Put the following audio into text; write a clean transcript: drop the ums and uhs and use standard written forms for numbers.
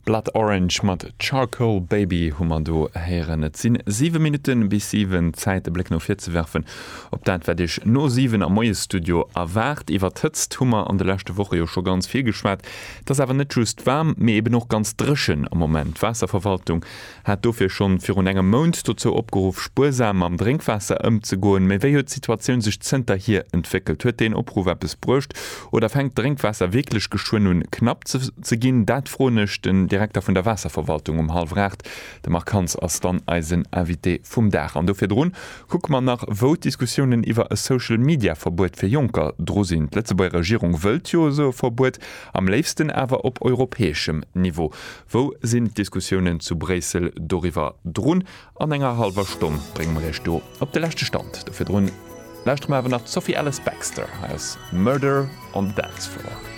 Blood Orange mat Charcoal Baby hu mer do héieren. Et sinn 7 Minutte bis 7, Zäit e Bléck no vir ze werfen op dat wat Iech no 7 am Moiesstudio erwaart. Iwwer d'Hëtzt hu mer an de leschte Woche jo scho ganz vill geschwat. Et ass awer net just waarm, mee eben och ganz dréchen am Moment. D'Waasserverwaltung hat dofir schonn virun engem Mount dozou opgeruff, spuersam mam Drénkwaasser ëmzegoen. Mee wéi huet d'Situatioun sech zënterhier entwéckelt? Huet deen Opruff eppes bruecht oder fänkt d'Drénkwaasser wierklech geschwënn un, knapp ze ginn? Dat froen ech den Direkter vun der Waasserverwaltung um hallwer 8. De Marc Hans ass dann eisen Invité vum Dag. An do virdrun kucke mer nach, wou d'Diskussiounen iwwer e Social-Media-Verbuet fir Jonker dru sinn. D'Lëtzebuerger Regierung wëllt jo esou e Verbuet, am léifsten awer op europäeschem Niveau. Wou sinn d'Diskussiounen zu Bréissel doriwwer drun? An enger hallwer Stonn brénge mer Iech do op de leschte Stand. Do virdrun lauschtere mer awer nach d'Sophie Ellis-Bextor. Hei ass Murder on the Dance Floor.